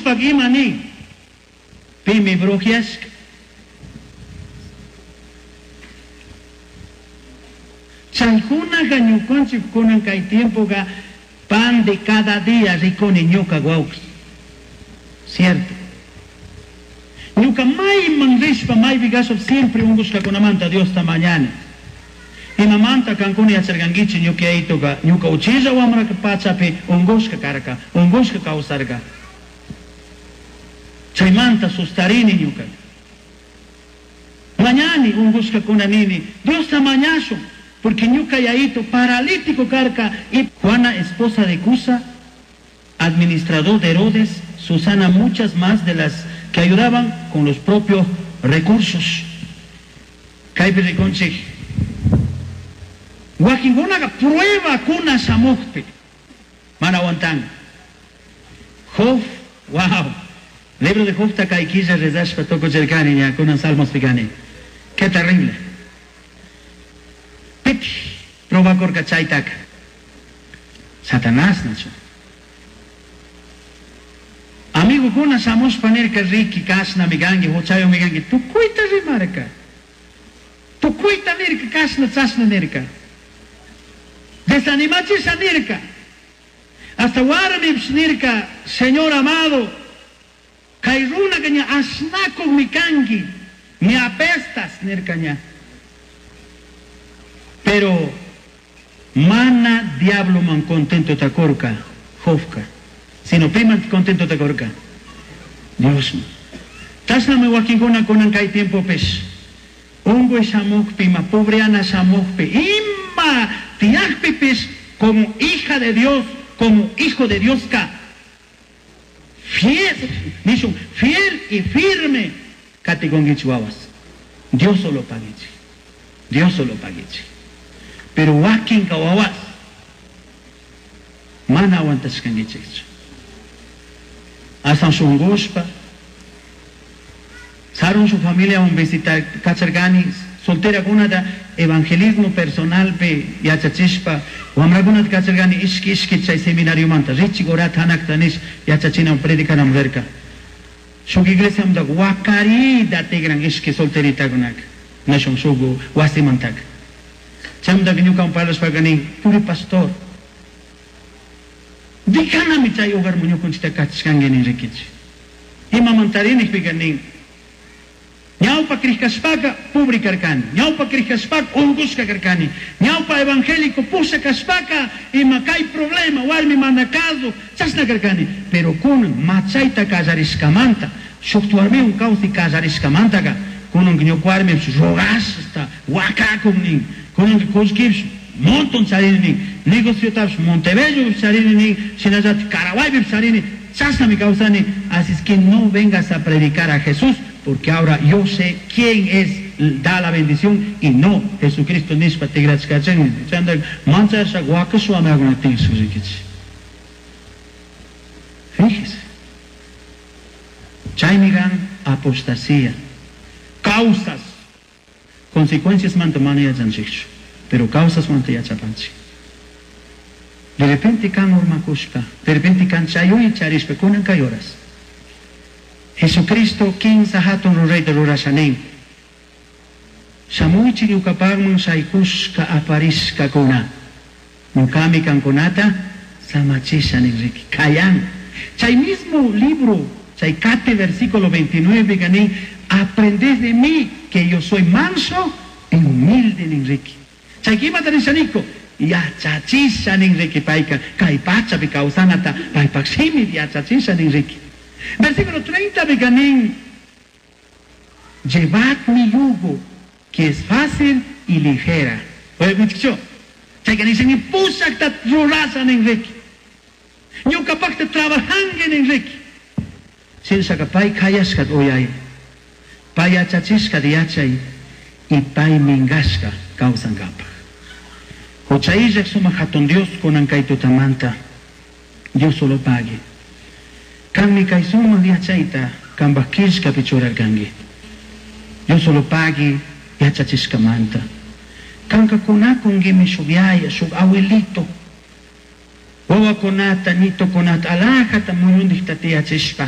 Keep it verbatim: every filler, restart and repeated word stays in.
Ungushpa ima nin? Pimi brujiashka. Chaykunaqa ñukanchik kunan kay tiempoqa pan de cada día rikuni ñuka wawqi. Cierto. Ñuka mayman rishpa maypi kashpa siempre ungushkakunamanta Diosta mañani. Imamanta kankuna yacharkankichik ñuka yayituka ñuka uchilla wamra pachapi ungushka karka, ungushka kawsarka. Chaymanta sustarini ñuka. Mañani ungushkakuna nini, Diosta mañashun, porque ñuka yayito paralítico karka y Juana, esposa de Cusa, administrador de Herodes, Susana, muchas más de las que ayudaban con los propios recursos. Kaypi rikunchik. Wakinkunaqa pruebakuna shamukpi mana aguantan. Job, wow. Libro de Job kay killa rezashpa tukuchirkani ña kunan Salmos kani. Qué terrible. Piti probakurka chaytaka. Satanás nachu. Amigokuna shamushpa nirka riki kashnami kanki, huchayumi kanki, tukuyta rimarka. Tukuyta nirka, kashna chashna nirka. Desanimachisha nirka. Hasta warmipish nirka, Señor amado, kay runaka ña ashnakukmi kanki, me apestas nirka ña. Pero mana diabloman contento takurka, Jobka, sino piman contento takurka, Diosman. Chashnami wakinkuna kunan kay tiempopish, unkuy shamukpi, ima pobreana shamukpi, ima tiyakpipish como hija de Dios, como hijo de Dios ka, fiel, nishun, fiel y firme katikunkichik wawas. Dios solo paguichik. Dios solo paguichik. Pero wakinka wawas mana aguantashkankichikchu. Aswan shunkushpa, sarun su familia visita kacharkani, solterakunata evangelismo personalpi yachachishpa, wamrakunata kacharkani ishki ishki chay seminariomanta, richik orata hanakta nish yachachinamun predicanamun rirka. Shuk iglesiamanta wakarida tigran ishki solteritakunaka, nishun shuk wasimantaka. Chaymantaka ñukawan parlashpaka nin, puri pastor, dikanami chay hogarman ñukanchikta kachashkanki nin rikichik. Imamantari nijpika nin, ñawpa krishkashpaka pobre karkani, ñawpa krishkashpaka unkushka karkani, ñawpa evangélico pusha kashpaka ima kay problema warmi mana kazu chashna karkani, pero kunan machayta kallarishkamanta, shuk warmiwan kawsay kallarishkamantaka kunan ñuka warmipish rogashta wakakun nin, kunanka kullkipish montón charini nin, negociotapish Montebello charini nin, shinallatik Caraguaypish charini, chashnami kawsani, así es que no vengas a predicar a Jesús, porque ahora yo sé quién es, da la bendición y no Jesucristo nishpa tigrachkachin. Chanda manchasha wakashwami agunatin surikichi. Fíjese. Chaymi kan apostasía. Causas. Consecuencias manta mana yachanchikchu, pero causas manta yachapanchik. De repente kan urmakushpa, de repente kan chayuy charishpa, kunan kay horas. Jesucristo kinsa hatun rurayta rurasha nin. Shamuychik ñukapakman shaykushka aparishkakuna. Ñukami kankunata samachisha nin riki. Kayan. Chay mismo libro, chay kate versículo veintinueve nin, aprended de mí que yo soy manso y humilde nin riki. Chay imata nishaniko, yachachisha nin riki payka, kay pachapi kawsanata, paypak shimi yachachisha nin riki. Versículo treinta nin, llevad mi yugo, que es fácil y ligera. Oye, muchacho, chayka nishan pusakta rurasha nin riki. Ñukapakta trabajanki nin riki. Shinashaka pay kayashka uyay, pay yachachishka yachay, y pay minkashka kawsankapak. Hucha illak sumak hatun Dios kunan kay tutamanta, Dios solo pague. Kanmi kay sumak yachayta kanpak killkapi churarkanki. Dios solo pague yachachishkamanta. Kanka kunakunkimi shuk yaya, shuk abuelito. Wawakunata, nitokunata, alajata muyundikta tiyachishpa.